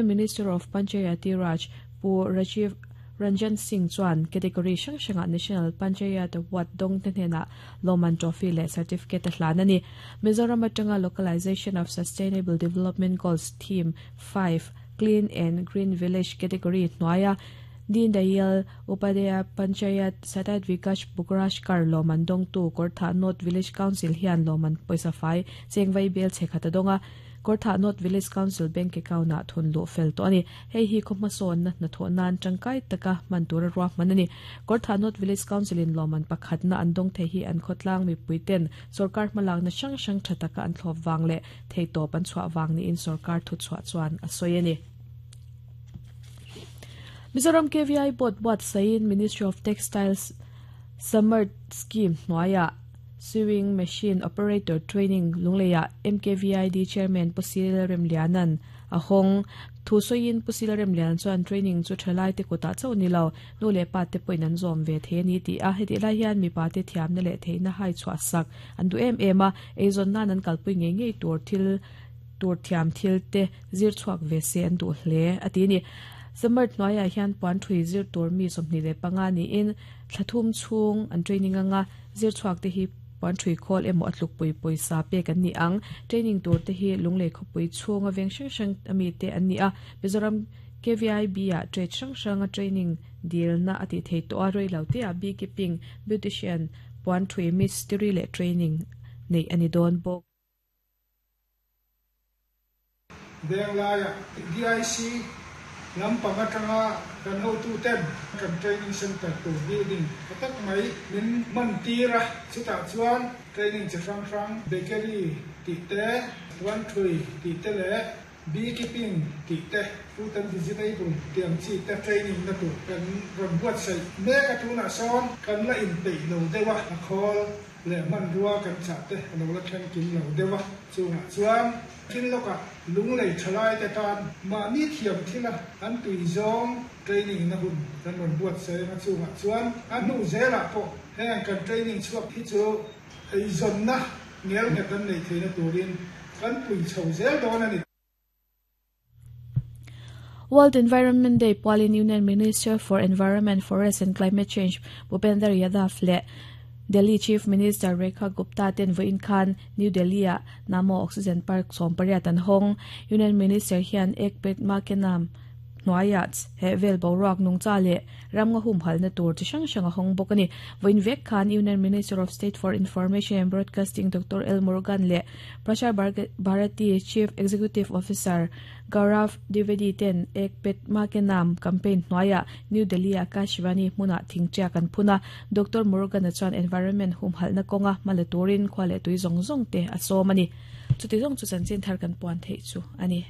Minister of Panchayati Raj Pu Rajiv Ranjan Singh chuan category hrang hrangah National Panchayat Award dawngte hnenah lawmman trophy leh certificate a hlan a ni. Mizoram atanga Localization of Sustainable Development Goals Theme 5 Clean and Green Village category hnuaia Deen Dayal Upadhyaya Panchayat Satat Vikash Purashkar lawmman dawngtu Kawrthah North Village Council hian lawmman pawisa fai chengvai bel chhe khat a dawng a. Kawrthah North Village Council Bank account-ah thun luh fel tawh a ni. Hei hi khaw hmasawnna hnathawh nan tangkai taka hman tura ruahman a ni. Kawrthah North Village Council-in lawmman pakhatna an dawng thei hi an khawtlang mipuiten sawrkar hmalakna hrang hrang tha taka an thlawp vang leh theihtawp an chhuah vang niin sawrkar thuchhuah chuan a sawi a ni. Mizoram KVI Board buatsaihin Ministry of Textiles Samarth Scheme hnuaiah Sewing Machine Operator Training Lungleiah MKVID Chairman Pu Sil Remliana'n a hawng. Thu sawiin Pu Sil Remliana chuan training chu thalaite kutah chauh ni lo, nu leh pa te pawhin an zawm ve thei a ni tih a. Hetih lai hian mipa te thiamna leh theihna hai chhuah sak an duh em em a, eizawn nan an kalpui ngei ngei tur thil tur thiam thil te zir chhuak ve se an duh hle a ti a ni. Samarth hnuaiah hian puan thui zir tur mi 25 niin thla thum chhung an training anga zir chhuak te hi puan thui khawl emaw a tlukpui pawisa pek an ni ang. Training tur te hi Lunglei khawpui chhunga veng hrang hrang ami te an ni a, Mizoram KVIB ah trade hrang hranga training dilna a tih thei tawh a, reilo te ah beekeeping, beautician, puan thui mistiri leh training neih a ni dawn bawk. Venglaiah DIC lampang atanga kan hotuten kan training centre tur building tha tak mai min hman tir a, chutah chuan training chi hrang hrang bakery tih te, puanthui tih te leh beekeeping tih te, fruit and vegetable tih ang chi te training na tur kan rawn buatsaih mek a, tunah sawn kan la inpeih lo deuh a, a khawl leh hmanrua kan chah te a lo la thleng kim lo deuh a, chungah chuan thil lawkah lunglei thalai te tan mahni thiam thila an tui zawng training na hun kan rawn buatsaih anga chungah chuan a hnu zelah pawh heng kan training chhuak hi chu eizawnna ngelnghet an neih theihna turin kan pui chho zel dawn a ni. World Environment Day pualin Union Minister for Environment, Forest and Climate Change Bhupender Yadav leh Delhi Chief Minister Rekha Gupta ten vawiin khan New Delhi-ah Namo Oxygen Park 18 an hawng. Union Minister hian Ek Ped Maa Ke Naam hnuaiah he vel boruak nungcha leh ramnga humhalna tur chi hrang hrang a hawng bawk a ni. Vawiin vek khan Union Minister of State for Information and Broadcasting Doctor L Murugan leh Prasar Bharati Chief Executive Officer Gaurav Dwivedi ten Ek Ped Maa Ke Naam campaign hnuaiah New Delhi-a Akashvani hmunah thingṭiak an phun a. Doctor Murugan-a chuan environment humhalhna kawnga hma la turin khua leh tui zawng zawng te a sawm a ni. Chuti zawng chu chanchin thar kan puan theih chu a ni.